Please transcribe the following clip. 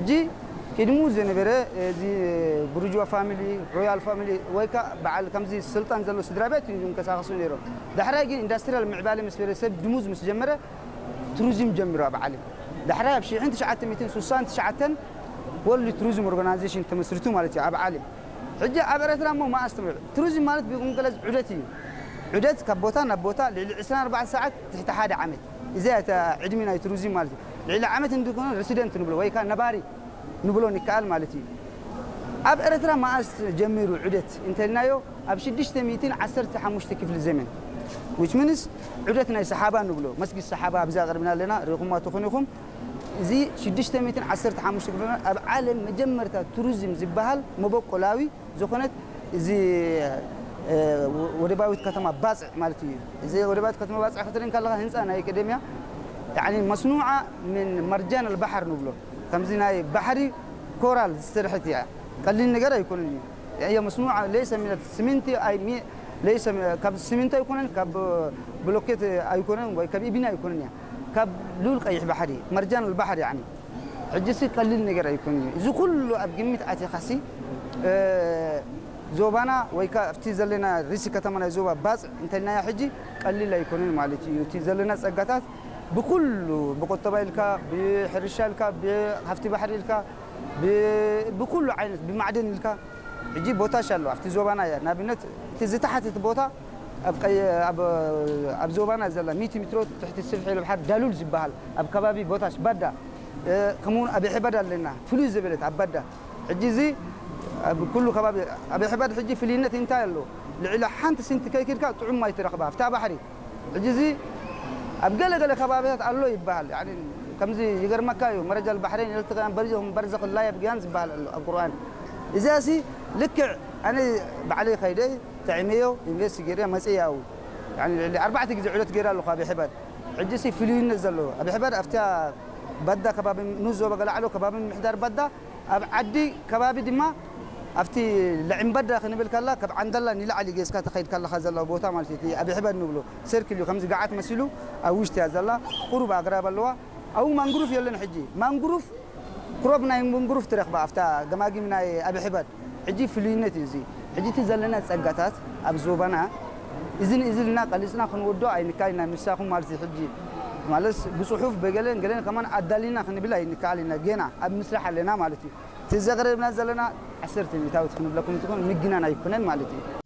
ሕጂ ቅድሙ ዝነበረ እዚ ብርጅዋ ፋሚሊ፣ ሮያል ፋሚሊ ወይ ከዓ በዓል ከምዚ ስልጣን ዘሎ ስድራ ቤት እዩ ዝንቀሳቐሱ ነይሮም። ዳሕራይ ግን ኢንዳስትሪያል ምዕባለ ምስ በለ ሰብ ድሙዝ ምስ ጀመረ ቱሪዝም ጀሚሩ ኣብ ዓለም። ዳሕራይ ኣብ ሽሕን ትሽዓተ ሚእትን ስሳን ትሽዓተን ወርልድ ቱሪዝም ኦርጋናይዜሽን ተመስሪቱ ማለት እዩ ኣብ ዓለም። ሕጂ ኣብ ኤርትራ እሞ መኣስ ትምዕ ቱሪዝም ማለት ብቁንቅለዝ ዑደት እዩ። ዑደት ካብ ቦታ ናብ ቦታ ልዕሊ ዕስራን ኣርባዕተን ሰዓት ትሕቲ ሓደ ዓመት። እዚኣ እታ ዕድሚ ናይ ቱሪዝም ማለት እዩ። ልዕሊ ዓመት እንድኮነ ሬሲደንት ንብሎ ወይ ከዓ ነባሪ ንብሎ ንከኣል ማለት እዩ። ኣብ ኤርትራ መኣስ ጀሚሩ ዑደት እንተልናዮ ኣብ ሽዱሽተ ሚእትን ዓሰርተ ሓሙሽተ ክፍሊ ዘመን which means ዑደት ናይ ሰሓባ ንብሎ መስጊድ ሰሓባ ኣብዚ ኣቕርብና ኣለና ርኢኹማ ትኾኑ ኢኹም። እዚ ሽዱሽተ ሚእትን ዓሰርተ ሓሙሽተ ክፍሊ ዘመን ኣብ ዓለም መጀመርታ ቱሪዝም ዝበሃል መበቆላዊ ዝኾነት እዚ ወደባዊት ከተማ ባፅዕ ማለት እዩ። እዚ ወደባዊት ከተማ ባፅዕ ክትርኢ ከለኻ ህንፃ ናይ ቀደምያ ያኒ መስኑዓ ምን መርጃን ኣልባሕር ንብሎ ከምዚ ናይ ባሕሪ ኮራል ዝስርሐት እያ። ቀሊል ነገር ኣይኮነን እዩ። እያ መስኑዓ ለይሰ ሚነት ስሚንቲ ኣይ ሚ- ለይሰ ካብ ስሚንቶ ኣይኮነን ካብ ብሎኬት ኣይኮነን ወይ ካብ ኢቢና ኣይኮነን እያ። ካብ ልኡል ቀይሕ ባሕሪ መርጃን ኣልባሕር ያኒ ሕጂ ሲ ቀሊል ነገር ኣይኮን እዩ። እዚ ኩሉ ኣብ ግምት ኣቲኻሲ ዞባና ወይ ከዓ ኣብቲ ዘለና ርእሲ ከተማ ናይ ዞባ ባፅዕ እንተልናያ ሕጂ ቀሊል ኣይኮንን ማለት እዩ። እቲ ዘለና ፀጋታት ብኩሉ ብቁጠባ ኢልካ ብሕርሻ ኢልካ ብሃፍቲ ባሕሪ ኢልካ ብኩሉ ዓይነት ብማዕደን ኢልካ ሕጂ ቦታሽ ኣሎ ኣብቲ ዞባና እያ ንኣብነት እቲ ዝተሓትት ቦታ ኣብ ዞባና ዘላ ሚቲ ሚትሮ ትሕቲ ስፍሒ ባሕር ዳሉል ዝበሃል ኣብ ከባቢ ቦታሽ ባዳ ከምኡውን ኣብ ሕበድ ኣለና ፍሉይ ዝበለት ኣብ ባዳ ሕጂ እዚ ኣብ ኩሉ ከባቢ ኣብ ሕበድ ሕጂ ፍልይነት እንታይ ኣሎ ልዕሊ ሓንቲ ስንቲ ከይክድካ ጥዑም ማይ ትረኽባ ኣብታ ባሕሪ ሕጂ እዚ ኣብ ገለ ገለ ከባቢታት ኣሎ ይበሃል ከምዚ ይገርመካ እዩ መረጃ ባሕሬን ኤርትራን በርዞም በርዘኽ ላየብ ግያን ዝበሃል ኣሎ ኣብ ቁርኣን እዚኣ ሲ ልክዕ ኣነ ባዕለይ ከይደ ተዕመዮ ኢንቨስት ገይረ መፅእ ያው ልዕሊ ኣርባዕተ ግዜ ዑደት ገይረ ኣለኹ ኣብ ሕበድ ሕጂ ሲ ፍልይነት ዘለዎ ኣብ ሕበድ ኣብታ ባዳ ከባቢ ንዞበ ገላዕሎ ከባቢ ምሕዳር ባዳ ኣብ ዓዲ ከባቢ ድማ ኣብቲ ለዕምበዳ ክንብል ከላ ካብ ዓንደላ ንላዕሊ ጌስካ ተኸይድ ከለኻ ዘለዋ ቦታ ማለት እዩ ኣብ ሕበድ ንብሎ ሰርክል እዩ ከምዚ ገዓት መሲሉ ኣብ ውሽጢ እያ ዘላ ቁሩብ ኣግራብ ኣለዋ ኣብኡ ማንግሩፍ የለን ሕጂ ማንግሩፍ ክሮብ ናይ ማንግሩፍ ትረኽባ ኣብታ ገማጊም ናይ ኣብ ሕበድ ሕጂ ፍሉይነት እዩ እዚ ሕጂ እቲ ዘለና ፀጋታት ኣብ ዞባና እዝን እዝልና ቀሊፅና ክንወዶ ኣይንካይና ምሳኹም ማለት እዩ ሕጂ ማለት ብፅሑፍ በገለን ገለን ከማን ኣዳሊና ክንብል ኣይንከኣል ኢና ገና ኣብ ምስራሕ ኣለና ማለት እዩ እቲ ዘቕረብና ዘለና ዓሰርተ ሚእታዊት ክንብለኩም እንትኾን ምግናን ኣይኮነን ማለት እዩ